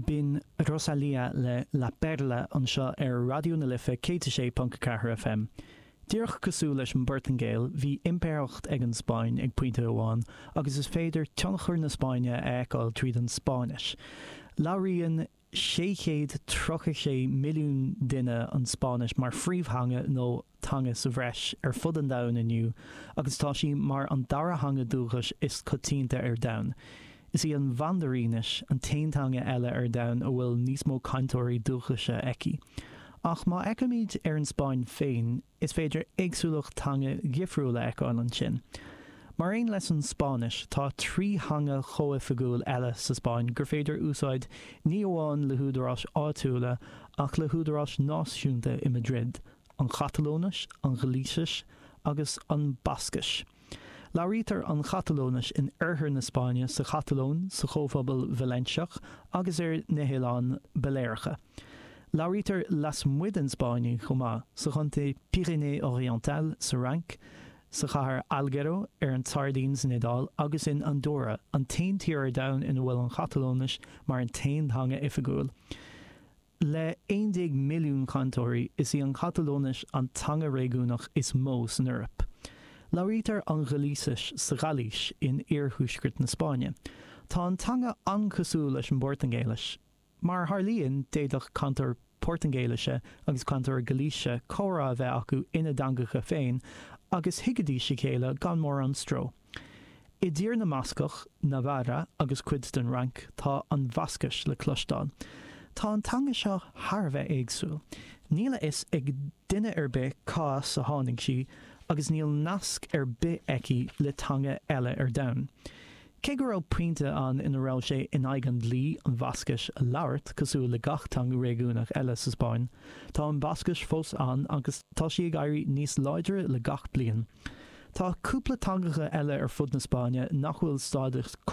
B'in Rosalía le La Perla anseo ar Raidió na Life 106.4 FM. Díreach cosúil leis an bPortaingéil, bhí impireacht ag an Spáinn ag pointe amháin agus is féidir tionchar na Spáinne a fheiceáil tríd an Spáinnis. Labhraíonn 636 milliún duine an Spáinnis mar phríomhtheanga nó teanga sa bhreis ar fud an domhain inniu agus tá sí mar an dara theanga dúchais is coitianta ar domhan. Is í an Mhandairínis an t-aon teanga eile ar domhan a bhfuil níos mó cainteoirí dúchais aici. Ach má fhéachaimid ar an Spáinn féin, is féidir éagsúlacht teanga dhifriúil a fheiceáil ansin. Mar aon leis an Spáinnis, tá 3 theanga chomhoifigiúil eile sa Spáinn gur féidir úsáid ní amháin le húdaráis áitiúla ach le húdaráis náisiúnta i Madrid, an Chatalóinis, an Ghailísis agus an Bhascais. Labhraítear an Chatalóinis in oirthear na Spáinne, sa Chatalóin, sa Chomhphobal Vailéinseach agus ar na hOileáin Bhailéaracha. Labhraítear lasmuigh den Spáinn í chomh maith, sa chontae Pyrénées-Orientales sa Fhrainc, sa chathair Alghero ar an tSairdín san Iodáil agus in Andorra, an t-aon tír ar domhan ina bhfuil an Chatalóinis mar an t-aon teanga oifigiúil. Le 11 milliún cainteoirí, is í an Chatalóinis an teanga réigiúnach is mó san Eoraip. Labhraítear an Ghailísis sa Ghailís in iarthuaisceart na Spáinne. Tá an teanga an-chosúil leis an bPortaingéilis. Mar a tharlaíonn, d'fhéadfadh cainteoir Portaingéilise agus cainteoir Gailísise comhrá a bheith acu ina dteangacha féin agus thuigfidís a chéile gan mórán stró. I dTír na mBascach, Navarra agus cuid den Fhrainc, tá an Bhascais le cloisteáil. Tá an teanga seo thar a bheith éagsúil. Níl a fhios ag duine ar bith cá as a tháinig sí agus níl nasc ar bith aici le teanga eile ar domhan. Cé go raibh pointe ann ina raibh sé in aghaidh an dlí an Bhascais a labhairt, cosúil le gach teanga réigiúnach eile sa Spáinn, tá an Bhascais fós ann agus tá sí ag éirí níos láidre le gach bliain. Tá cúpla teangacha eile ar fud na Spáinne nach bhfuil stádas.